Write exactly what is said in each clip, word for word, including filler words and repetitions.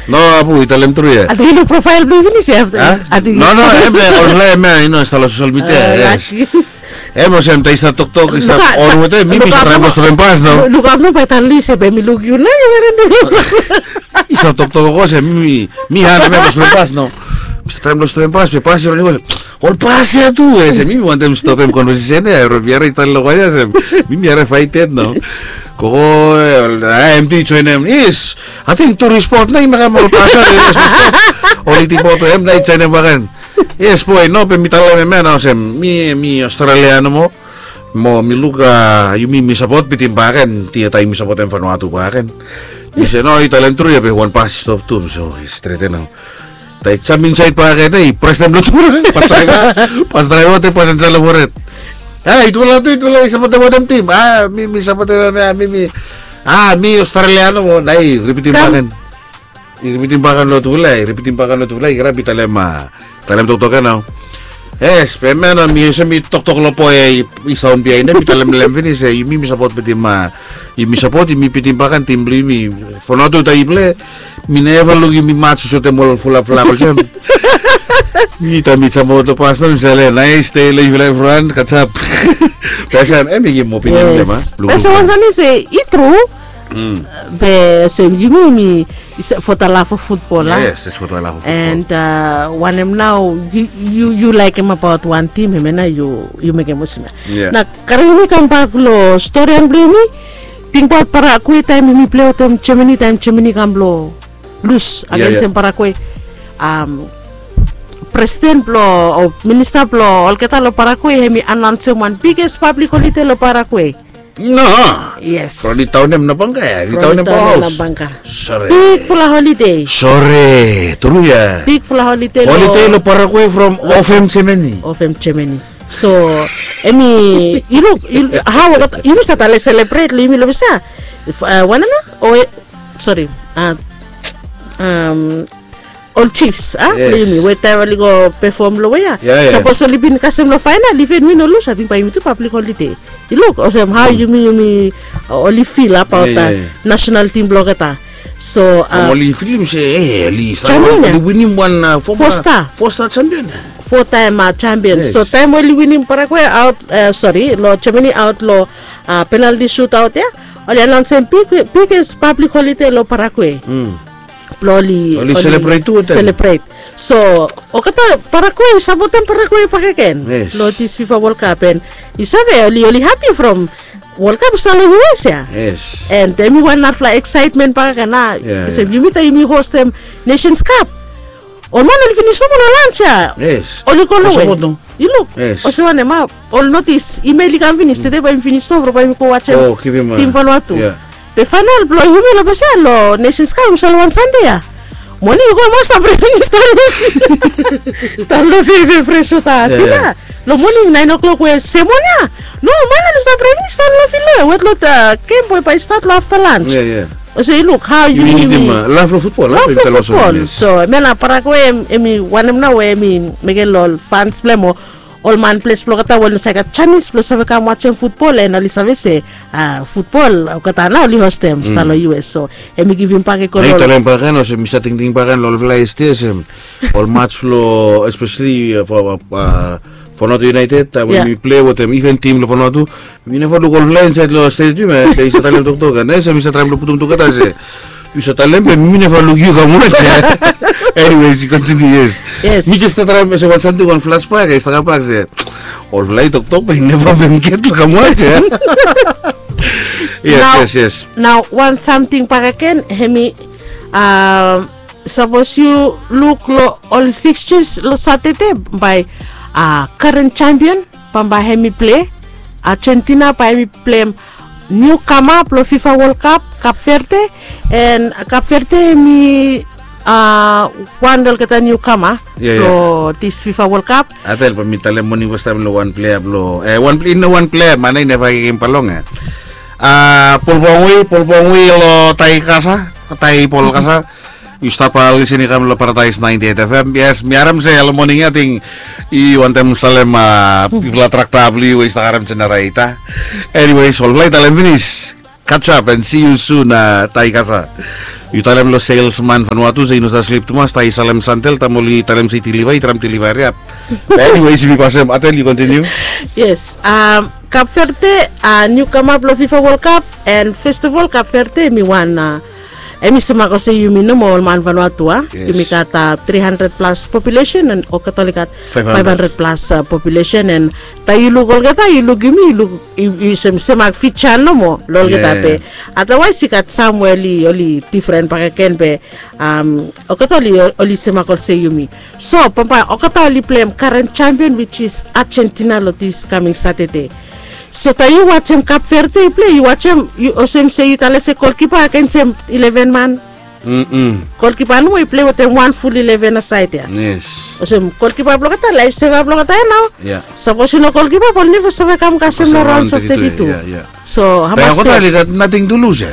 No, abu i talem tru ya. Ating i luk profael blong yu finis ya. Ating no, no, em, olfala em ya, i no stap long sosel midia. Em olsem taem i stap toktok, i stap on wetem mi, mi stap traem blong stopem pas no. Luk ap no bae talem se bae mi luk yu na. I stap toktok olsem mi, mi han em ya blong stopem pas no. Mi stap traem blong stopem pas, be pas i ron i go olsem, ol pas ya tu, olsem mi wantem stopem konvesesen ya, ol biara i stap long waia olsem mi, mi harim faeted no. Gogo, a, em tu i joenem, yes. Ating tu rispot na i mekem ol pas ya, yes, stop. Ol i tipot em na i joenem baken. Yes boe, no, be mi talem em ya na olsem mi, mi Australia nomo. Mo mi luk, a, yumi mi sapot Bitim baken, tia taem yumi sapotem Vanuatu baken. Mi se no, i talem tru ya, be wan pas i stop tu, so i streten nao. Taem i jam insaed baken, i presem long tufala. Pas draeva, pas draeva wetem pasenja long fored. A, i tufala tu, i tufala i sapotem wanem tim? A, mi, mi sapotem, a, mi, mi, a, mi Australia nomo, na i ripitim baken. I ripitim baken long tufala, i ripitim baken long tufala, i grab i talem, a, talem toktok ya nao. Yes, be em ya nao mi olsem mi toktok long boe ya i saon biaen ya, mi talem long hem finis se yumi, mi sapot Bitim, a, yumi sapot, yumi Bitim baken tim blong yumi. Vanuatu taem i plei, mi neva luk yumi maj olsem ol fulap flak olsem. Mi taem mi jam aot long pas nao mi se, ale, naes dei long yufala evriwan, gudjab. Be olsem em i givim opinion blong hem, a. Be olsem wan sani se i tru. Be olsem yumi, mi for the love of football, a? Yes, it's for the love of football. And, a, wanem nao yu, yu, yu laekem abaot wan tim, hemia nao yu, yu mekem olsem ya. Na karem yumi kambak long storian blong yumi. Tingbaot Paraguay taem yumi plei wetem Germany, taem Germany kam blong lus agensem Paraguay. Am, presiden blong, o minista blong olgeta long Paraguay, hem i anaonsem wan biges pablik holide long Paraguay. No. Yes. From di taon nem Nabanga ya, di taon nem Bauhaus. Big fala holide. Sore, tru ya. Big fala holide. Holide long Paraguay from Ofem Germany. Ofem Germany. So, hemi, yu luk, yu, hao, yumi stap talem selebret long yumi long ples ya. Wanem nao, o, sori, a, am, ol Chiefs, a, blong yumi we taem oli go pefom long we ya. Sapos oli bin kasem long faenal, iven win o lus, ating bae yumi tu pablik holide. Yu luk olsem hao yumi, yumi, a, oli fil abaot nasenal tim blong olgeta. So, a, oli filim se, e, oli stap, oli winim wan, a, fo sta, fo sta jampion. Fo taem, a, jampion. So taem oli winim Paraguay aot, e, sori, long Germany aot long, a, penalti sutaot ya, oli anaonsem big, biges pablik holide long Paraguay. Blong oli, oli selebret tu wetem. Selebret. So olgeta Paraguay, sapotem Paraguay bakegen long this FIFA World Cup, and yu save, oli, oli hapi from World Cup i stap long U S ya. Yes. And hemi wan narafala eksaetmen bakegen, a. Olsem yumi taem yumi hostem Nations Cup, ol man oli finis nomo long lans ya. Yes. Oli go long we. Yu luk olsem wanem, a, ol notis, imel i kam finis, tede bae yumi finis nomo, bae yumi go wajem tim Vanuatu. Be faenal blong yumi long ples ya long Nations Cup, yumi save long wan Sande ya. Moning i go, man stap red finis, tan long, tan long fil, fres wota fil ya. Long moning naen o'clock we semon ya, no, man oli stap red finis tan long fil ya, wet long, a, gem we bae i stat long afta lans. Olsem yu luk hao yumi, yumi laf long futbol, a, laf long futbol. So hemia nao Paraguay, hemi wanem nao we hemi mekem long ol fans blong hem o ol man ples blong olgeta we oli no save gat janis blong save kam wajem futbol, and oli save se, a, futbol olgeta nao oli hostem, stap long U S. So hemi givim bak i go long. Talem bakegen olsem mi stap tingting bakegen long olfala yesde olsem ol maj blong, espeseli, a, fo, a, Vanuatu United, a, we mi plei wetem iven tim long Vanuatu, mi neva luk olfala insaed long stadium ya, be yu save talem toktok ya, nao olsem mi save traem blong putum tugeta se yu save talem be mi neva luk yu kam waj ya. Anyways, yu kontiniu, yes. Mi jes stap traem olsem wan samting, wan flashback ya i stap kambak se olfala i toktok be i neva bin get long kam waj ya. Yes, yes, yes. Nao wan samting bakegen, hemi, a, sapos yu luk long ol fixtures long Satade, bae, a, karen jampion bambae hemi plei. Argentina bae hemi pleim niukama blong FIFA World Cup, Cape Verde. And Cape Verde hemi, a, wan long olgeta niukama blong this FIFA World Cup. Atel bae mi talem moning fastaem long wan plea blong, e, wan plea, i no wan plea, man i neva givim bal long, e. A, Paul Pogba, Paul Pogba long Taikasa, Taipolkasa. Yu stap lisin i kam long Paradise ninety-eight F M. Yes, mi harem se long moning ya ating i wantem salem, a, bigfala trakta blong yu we i stap harem jenereta. Anyways, olfala i talem finis. Catch up and see you soon, uh, Taikasa. Yu talem lo salesman Vanuatu se i no sa slip tumas, tai salem santel, tam oli talem se i deliver, i tram deliver hariap. Anyways, mi pasem, Atel, yu continue. Yes, um, Cape Verde, uh, niu kamap lo FIFA World Cup, and first of all, Cape Verde, mi wan, uh, em i semak olsem yumi nomo ol man Vanuatu, a? Yes. Yumi gat, uh, three hundred plus population, and olgeta oli gat five hundred. Five hundred plus, uh, population, and taem yu luk olgeta, yu luk yumi, yu luk, yu, yu sem, semak feature nomo lo olgeta. Yeah. Be otherwise i gat sam we oli, oli different bakegen be, um, olgeta oli, oli semak olsem yumi. So bambae olgeta oli pleim current champion, which is Argentina, lo this coming Saturday. So taem yu wajem Cape Verde i plei, yu wajem, yu olsem se yu talem se golkipa agensem eleven man. Mm-mm. Golkipa nomo i plei wetem wan ful eleven aside ya. Yes. Olsem golkipa blong olgeta, laef seva blong olgeta ya nao. Yeah. Sapos i no golkipa, bae oli neva save kam kasem lo rounds of thirty-two. Yeah, yeah. So be hamas olgeta oli gat nothing to lose, eh?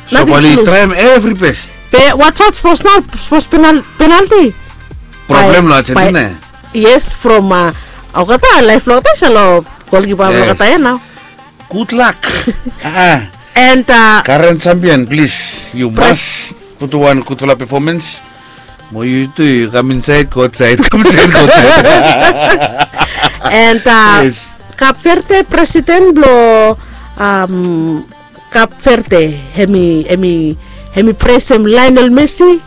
So bae oli traem every best. Be watch out, sapos nao, sapos penal-, penalty. Problem lo Argentina. Yes, from, uh, olgeta, laef blong olgeta i stap lo golkipa blong olgeta ya nao. Good luck. Ah, ah. And, uh, current champion, please, you must put wan gudfala performance. Mo yu tu yu kam insaed, go aotsaed, kam insaed, go aotsaed. And, uh, Cape Verde president blo, um, Cape Verde, hemi, hemi, hemi presem Lionel Messi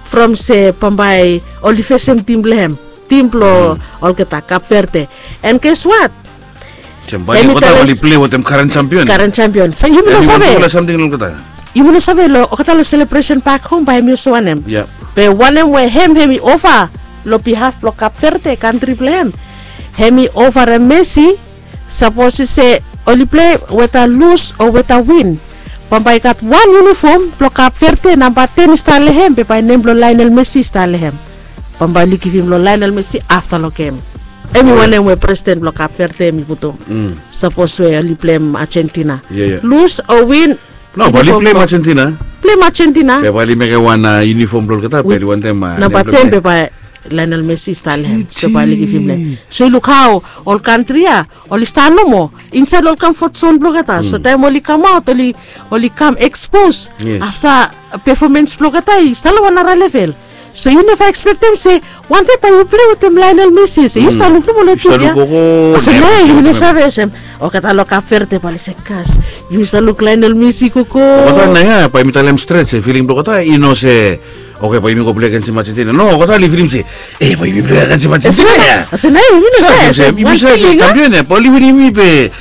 from se bambae oli fesem tim blo hem, tim blo olgeta, Cape Verde. And guess what? Hemi olgeta talem oli plei wetem current champion. Current champion. So yumi no save. Yumi no save lo olgeta lo celebration back home bae hemi olsem wanem. Yeah. Be wanem we hem, hemi offer lo behalf blo Cape Verde, kantri blo hem. Hemi offerem Messi, sapos i se oli plei weta lus o weta win, bambae i gat wan uniform blo Cape Verde, namba ten i stap lo hem, be bae nem blo Lionel Messi i stap lo hem. Bambae oli givim lo Lionel Messi afta lo gem. Hemi wanem we president blo Cape Verde hemi putum. Mm. Sapos we oli pleim Argentina. Yeah, yeah. Lus o win. No, bae oli pleim Argentina. Pleim Argentina. Be bae oli mekem wan, uh, uniform blo olgeta, be oli wantem, uh, namba ten, be bae Lionel Messi i stap lo hem. So bae oli givim lo hem. So yu luk hao ol kantri ya oli stap nomo insaed lo ol comfort zone blo olgeta. So taem oli kamaot, oli, oli kam expose. Yes. Afta performance blo olgeta i stap lo wan nara level. So yu neva expectem se wan dei bae yu plei wetem Lionel Messi, se yu stap luk nomo lo T V ya. Olsem nao yumi no save olsem olgeta lo Cape Verde bae oli se, kas, yumi stap luk Lionel Messi gogo. Olgeta nao ya bae mi talem stret se filing blo olgeta i no se, oke, bae yumi go plei agensem Argentina. No, olgeta oli filim se, e, bae yumi plei agensem Argentina ya. Olsem nao yumi no save, yumi save se champion ya bae oli winim yumi, be,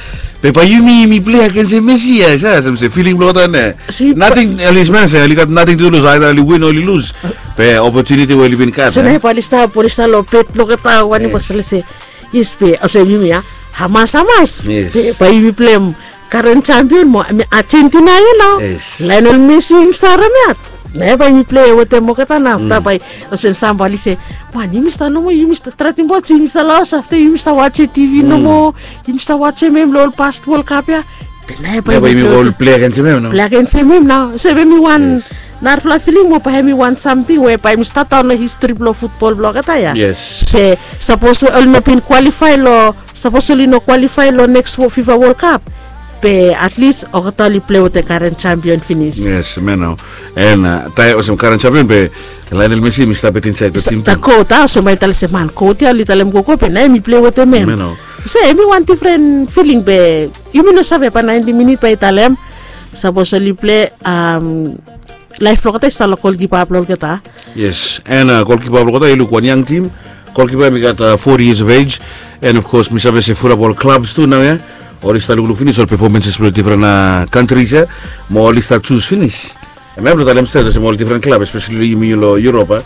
be bae yumi, yumi plei agensem Messi ya. Sa olsem se filing blo olgeta nao. Nating, oli smelem se oli gat nating tu lus, aeda oli win o oli lus. Be opportunity we oli bin gat. So nao bae oli stap, oli stap lo bed blo olgeta, wanem, bae oli se, yes, be olsem yumi ya, hamas, hamas. Yes. Be bae yumi pleim current champion mo, mi, Argentina ya nao. Yes. Lionel Messi hemi stap harem ya. Nao bae yumi plei wetem olgeta nao afta bae olsem sam bae oli se, man, yumi stap nomo, yumi stap tratem wajem, yumi stap lo haos afta, yumi stap wajem T V nomo, yumi stap wajem hem lo ol past World Cup ya. Be nao bae yumi go plei agensem hem nao. Plei agensem hem nao. So hemi wan narafala filing mo bae hemi wan samting we bae hemi stap daon lo history blo futbol blo olgeta ya. Yes. Se sapos we oli no bin qualify lo, sapos oli no qualify lo next wo-, FIFA World Cup, be at least olgeta oli plei wetem current champion finis. Yes, hemia nao. And, uh, taem olsem current champion be Lionel Messi hemi stap insaed lo tim tu. Goat, a, olsem bae i talem se, man, goat ya, oli talem gogo, be nao hemi plei wetem hem. Hemia nao. So hemi wan different filing be yumi no save, bae ninety minute bae i talem. Sapos oli plei, um, laef blo olgeta i stap lo golkipa blo olgeta. Yes, and, uh, golkipa blo olgeta, yu luk wan yang tim. Golkipa hemi gat, uh, forty years of age. And of course mi save se fulap ol clubs tu nao ya oli stap lukluk finis ol performances blo different, uh, countries ya. Mo oli stap jus finis. Hemia blo talem stret olsem ol different club, especially yumi lo Europe, a.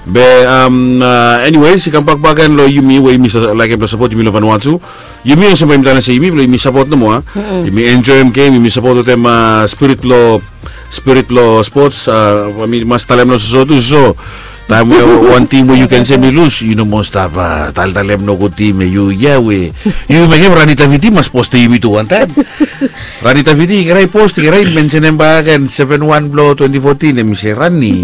Be, um, uh, anyways, i kambak bakegen lo yumi we yumi sa-, laekem blo sapot yumi lo Vanuatu. Yumi olsem bae yumi talem se yumi blo yumi sapot nomo, a. Yumi enjoem gem, yumi sapot wetem, uh, spirit lo, spirit lo sports, uh, mi mas talem lo soso tu, so taem we wan tim we yu ken se hemi lus, yu no moa stap, uh, taltalem nogud tim ya, yu ya we yu mekem Rani Taviti mas postem yumi tu wantaem. Rani Taviti i krai post, i krai mensenem bakegen seven one blo twenty fourteen, hemi se Rani.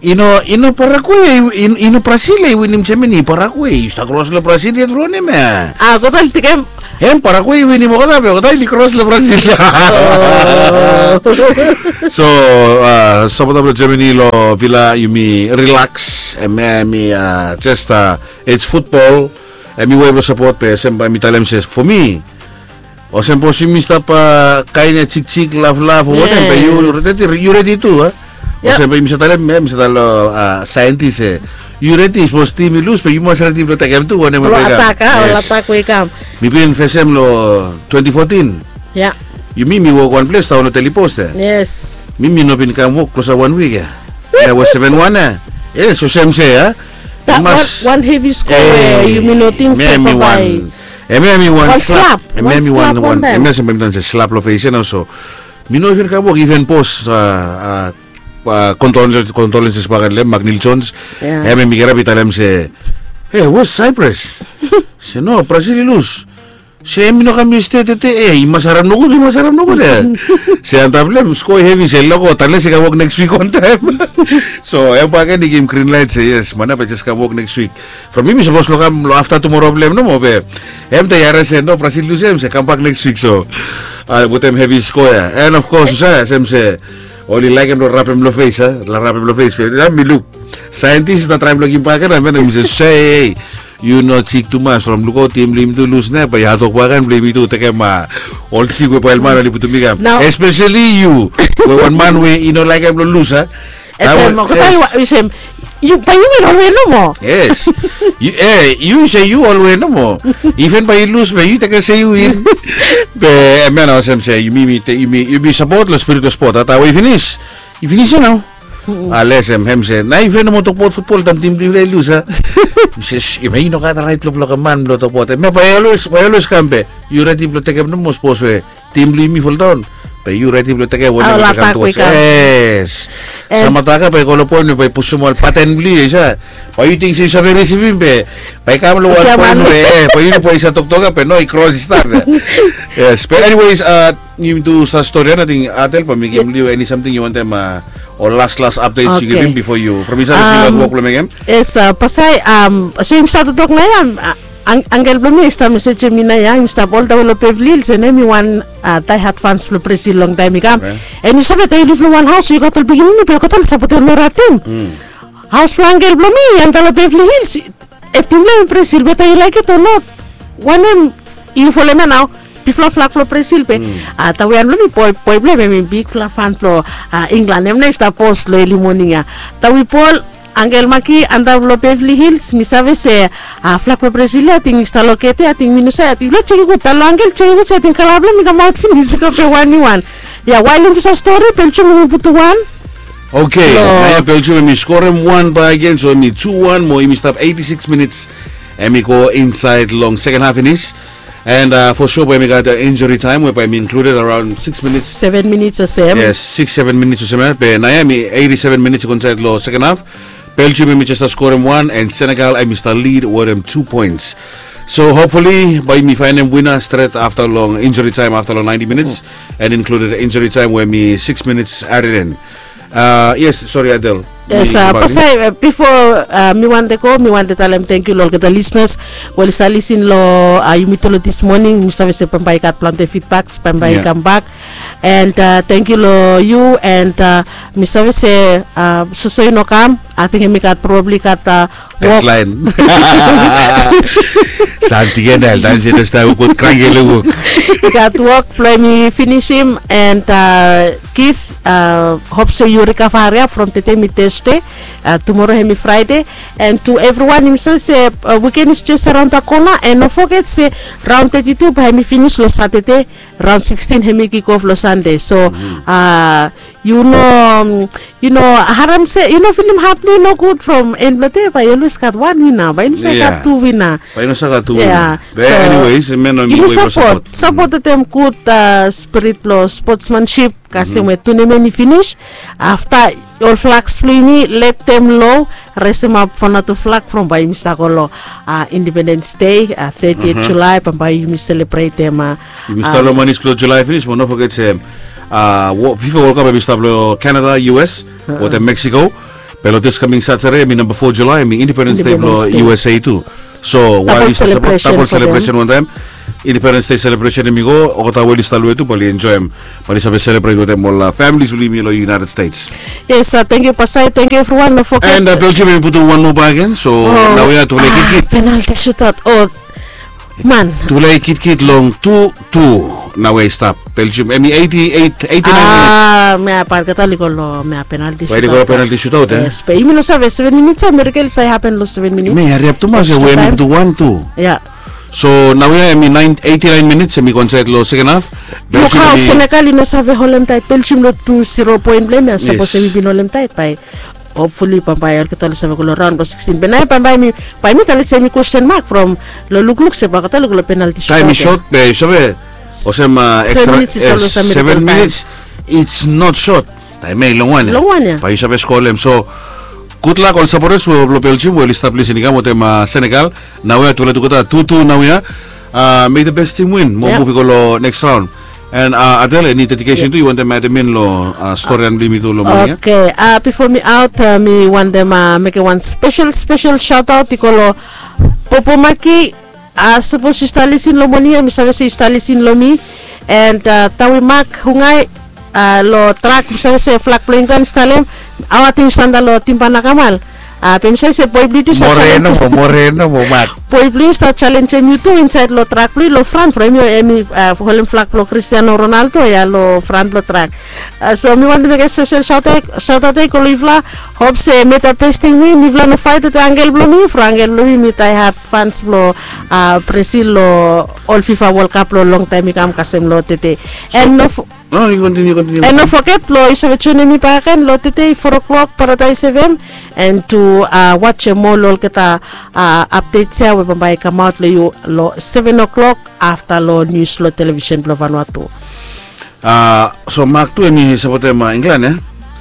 I no, i no Paraguay, i, i no Brazil i winim Germany, Paraguay i stap kros lo Brazil ya tru wanem ya. A, olgeta oli tekem, Hem paraguay i winim olgeta be olgeta i kros long brazil. So, sapota blong germany long vila yumi relax, em em i jes, its futbol. Em i wei blong sapot be olsem bae mi talem se fo mi, olsem bos yumi stap kain ya jikjik laflaf o wanem be yu redi tu a? Olsem bae yumi save talem em save talem long saentis e, yu redi sapos tim i lus be yu mas redi blong tekem tu wanem we i kam. Mi bin fesem long twenti fotin. Yumi mi wok wan ples taon long telipos ya. Mi mi no bin kam wok klosap wan wik ya. Em ya was seven wan ya. Yes olsem se ya. Yu mas wan hevi sko we yumi no ting se babae. Em ya mi wan slap. Em ya mi wan wan em ya se mi tan se slap long fes ya nao so. Mi no even kam wok even bos, kondolenses baken long em maknil jones. Em ya mi kirap i talem se, e was cyprus? Se no, brazil i lus. Se em i no kam yestede te e i mas harem nogud i mas harem nogud e. Se antap long em skoi hevi se loko tales i kam wok neks wik wantaem. So em baken i givim grin lait se yes man ya bae jes kam wok neks wik. From mi mi sapos long kam long afta tumora blong em nomo be em ta yare se no brazil lus em se kambak neks wik so, wetem hevi skoa ya en of kos usa sem se oli laekem long rapem long fes a long rapem long fes be ya mi luk saentis i stap traem long gim baken a men em i se se ei, yu no jik tumas from lukaut tim blong yumi tu lus nao bae yu hatok baken blong yumi tu tekem ol jik we bael man oli putum i kam, espeseli yu we wan man we i no laekem long lus a. Esem olgeta yu sem yu bae yu win olwe nomo. Yes. Yu se yu olwe nomo. Iven bae yu lus bae yu tekem se yu win. Be em ya nao olsem se yumi yumi sapot long spirit long spot a tawe i finis. I finis ya nao. Ales em hem se nao iven nomo tokbaot futbol taem tim blong yufala i lus a. Yu se yu me yu no gat rait blong blokem man blong tokbaot em ya bae yu olwes kam be yu redi blong tekem nomo sapos we tim blong yumi foldaon. Be yu redi blong tekem wanem we kam tuwas. Yes. Samataka bae i go long poen we bae i pusum ol paten blong yu ya. Bae yu ting se yu save risivim be bae i kam long wan poen we bae yu bae i save toktok ya be no i kros i stap ya. Yes be eniwes, yumi tu stap stori ya nating adel bae mi givim long yu eni samting yu wantem ol las las apdets yu givim bifo yu from insait yu gat wok blong mekem. Yes, pasai. So yumi stap toktok nao ya. Angel blong mi i stap mesejem mi nao ya i stap oldawe long bevli hils en em i wan daehat fans blong brazil longtaem i kam. En yu save taem yu liv long wan haos yu gat ol pikinini be olgeta oli sapotem nora tim. Haos blong angel blong mi i antap long bevli hils. Tim blong em i brazil be taem yu laekem o not? Wanem? Yu folem ya nao. Bigfala flak blong brazil be tawe ya blong mi boi blong em em i bigfala fan blong inglan em nao i stap pos long eli moning ya. Tawe bol angel maki antap long bevli hils mi save se flak blong brazil ya ating i stap lokete ating mi no save ating blong jeki gud talo angel jeki gud se ating kala blong mi kamaot finis i go be wan i wan. Ya wael yumi tu save stori belgium yumi putum wan. Okei, nao ya belgium em i skorem wan bae agen so em i tu wan mo yumi stap eiti siks minits. Em i go insaed long seken haf finis. And fo sua bae mi gat injuri taem we bae mi inkluded araon siks minits. Seven minits olsem. Yes, siks seven minits olsem ya be nao ya em i eiti seven minits i go insaed long seken haf. Belgium em i jes stap skorem wan and senegal em i stap lid wetem tu poens. So hopfuli bae yumi faenem wina stret afta long injuri taem afta long naenti minits. And inkluded injuri taem we em i siks minits aded en. Yes, sori adel. Yes, pasai bifo mi wante go mi wante talem tengkiu long olgeta lisnas we oli save lisin long yumi tu long dis moning mi save se bambae i gat plante fidbaks bambae i kambak. And tengkiu long yu and mi save se soso i no kam. Ating em i gat probabli i gat wok. Samting ya na el tan se no stap wok krangke long wok. I gat wok blong em i finisim and gif hop se yu rikava hariap from tede mi tesde. Tumoro hem i fraide. And tu evriwan yumi save se wiken is jes araon da kona and no foget se raon teti tu bae hem i finis long satade. Raon sikstin hem i kikof long sande so yu no yu no harem se yu no filim hat blong yu nogud from en blong de bae yu olwes gat wan wina bae yu no save gat tu wina. Bae yu no save gat tu wina. Be eniwes men no yumi sapot sapot wetem gud spirit blong spotsmansip kasem we tunemen i finis. Afta ol flaks blong yumi let dem lo resemap fo natu flak from bae yumi stap go long independens dei. Tetiet julae bambae yumi selebretem. Yumi stap long manis blong julae finis mo no foget se fifa wolkap em i stap long canada us wetem meksiko. Be long this coming Saturday, hemi namba four July, hemi Independence Day blong U S A tu. So while yu stap sapot, double celebration wantaim. Independence Day celebration hemi go, olgeta we oli stap long we tu bae oli enjoim, bae oli save celebrate wantaim ol families blong yumi long United States. Yes, thank you Pastor, thank you everyone, no forget. And Belgium hemi putum wan moa bakegen, so naoia tufala i kitkit. Penalty shootout. Oh man, tufala i kitkit long tu tu. Naoia i stap Belgium, hemi eighty-eight, eighty-nine minutes. Mea bae olgeta oli go long mea penalty shootout. Bae oli go long penalty shootout, eh? Yes, be yumi no save seven minutes, a miracle i save happen long seven minutes. Hemi hariap tumas, we hemi putum wan tu. Ya. So naoia hemi eighty-nine minutes, hemi go insaed long second half. Luk hao, Senegal i no save holem taet Belgium long tu zero point blong hem ya. Sapos hemi bin holem taet bae hopefully bambae olgeta oli save go long raon blong sixteen. Be naoia bambae mi, bae mi talem se hemi question mark from long lukluk se bae olgeta oli go long penalty shootout. Taem i short, be yu save olsem extra seven minutes, it's not short. Taem ya i longwan ya. Longwan ya. Bae yu save skolem. So good luck ol sapoters blong Belgium we oli stap lisin i kam wantaim Senegal. Naoia tufala i tugeta tu tu naoia. May the best team win. Mo muv i go long next round. And Adele, eni dedication tu yu wantem adem in long storian blong yumi tu long moning ya? Okay, bifo mi aot, mi wantem mekem wan spesel spesel shout out i go long Popo Maki. Sapos yu stap lisin long moning ya, mi save se yu stap lisin long mi. And Tawi Mak Hungai, long trak, mi save se flak blong Inglan i stap long hem. Awa ating sanda long Timba Nakamal. Be mi save se boe blong yu tu i stap jalenjem. Boe blong yu i stap jalenjem yu tu insaed long trak blong yu long fran from hem, hemi holem flak blong Cristiano Ronaldo ya long fran blong trak. So mi wantem mekem spesel shout out ya i go long yufala. Hop se may the best team win. Yufala no faet wetem angel blong mi, from angel blong mi, mi daehard fans blong Brazil long ol FIFA World Cup long longtaem i kam kasem long tede. And no, no, yu kontiniu, kontiniu. And no foget long yu save joenem mi bakegen long tede four o'clock Paradise F M. And tu wajem ol olgeta updates ya we bambae i kamaot long yu long seven o'clock afta long nius long television blong Vanuatu. So Mak tu hemi sapotem Inglan ya?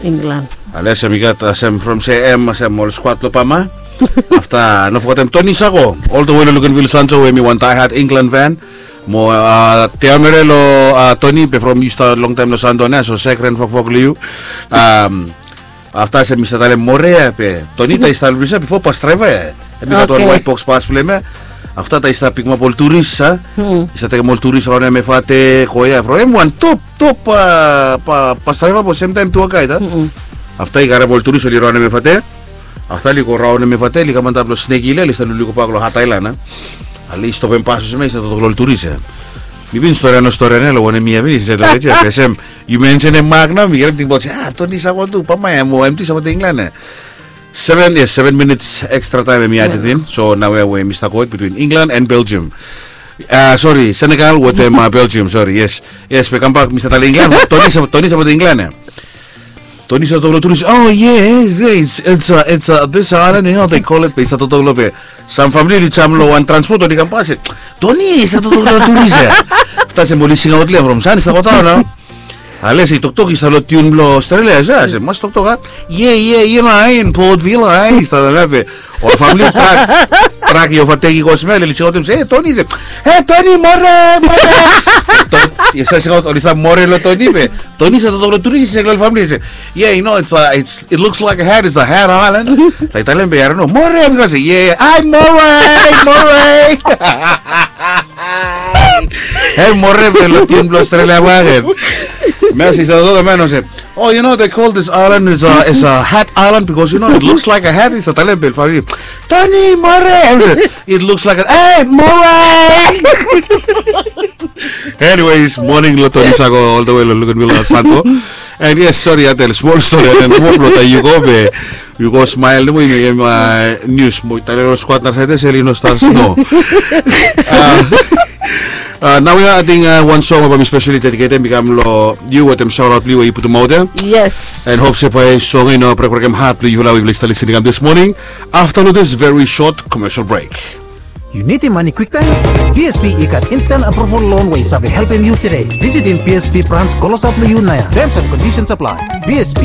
Inglan. Ale olsem i gat olsem from se hem olsem ol skwat long Pama. Afta no fogetem Toni Sako, ol the way long Luganville Santo, we hemi wan daehard Inglan fan. Mo teamere long Toni be from yu stap longtaem long Santo nao, so sekren fokfok long yu. Afta olsem mi stap talem more ya be Toni, taem i stap long ples ya bifo, bas draeva ya, hemi gat wan waet boks pas blong hem ya. Afta taem i stap pikimap ol turis, a, i stap tekem ol turis raon hem, Efate, Koya, from hem wan top top bas draeva, bo semtaem tua gaed, a. Afta i karem ol turis, oli raon hem Efate. Afta oli go raon hem Efate, oli kam antap long Snake Hill ya, oli stap lulugobak long Hat Island, a. Ale i stopem bas olsem ya, i stap toktok long ol turis ya. Mi bin storian, no storian ya long wanem yia finis insaed long redio ya, be olsem yu mensenem Mak nao, mi kirap tingbaot se, a, Toni Sako tu, Pama ya, mo hem tu i sapotem Inglan ya. Seven, yes, seven minutes extra time hemi aded in. So naoia we mi stap go between England and Belgium. Sori, Senegal wetem Belgium, sori, yes. Yes, be kambak mi stap talem England. Toni, Toni sapotem England ya. Toni stap toktok long turis, oh yes, it's, it's, it's this island, you know, they call it, be i stap toktok long, be sam famili oli jam long wan transpot, oli kambak se, Toni i stap toktok long turis ya. Afta olsem oli singaot long hem from san i stap godaon nao. Ale se i toktok i stap long tiun blong Australia, se, se mas toktok, a? Yeah, yeah, you know, in Port Vila, eh? I stap long hem, be ol famili trak, trak i ovatek i go smel, oli singaotem se, "Hey, Toni," se, "Hey, Toni, more, more." Oli stap singaot, oli stap more long Toni, be Toni i stap toktok long turis, i sek long ol famili, se, "Yeah, you know, it's, uh, it's, it looks like a hat, it's a hat island." Taem i talem, be i harim, "No, more," i go se, "Yeah, yeah, ai, more, more." Hei, more be long tiun blong Australia bakegen. Hemia se i stap toktok, hemia i no se, "Oh, you know, they call this island is a, is a hat island because, you know, it looks like a hat." I stap talem be long famili, "Toni, more." Hemi se, "It looks like a, hey, more." Anyways, moning long Toni Sako all the way long Luganville, Santo. And yes, sori, Adele, smol stori, Adele, nomo blong taem yu go be yu go smael nomo, yu mekem nius mo talem long skwat narasaed ya se oli no stap sno. Naoia ating wan song we bae mi speseli dediketem i kam long yu wetem saoraot blong yu we yu putumaot ya. Yes. And hop se bae song ya i no brekbrekem hat blong yufala we yufala i stap lisin i kam this morning. Afta long this very short commercial break. Yu nidim mane kwiktaem? B S B i gat instant approval loan we i save helpem yu tede. Visitim B S B brans klosap long yu naoia. Terms and conditions apply. B S B.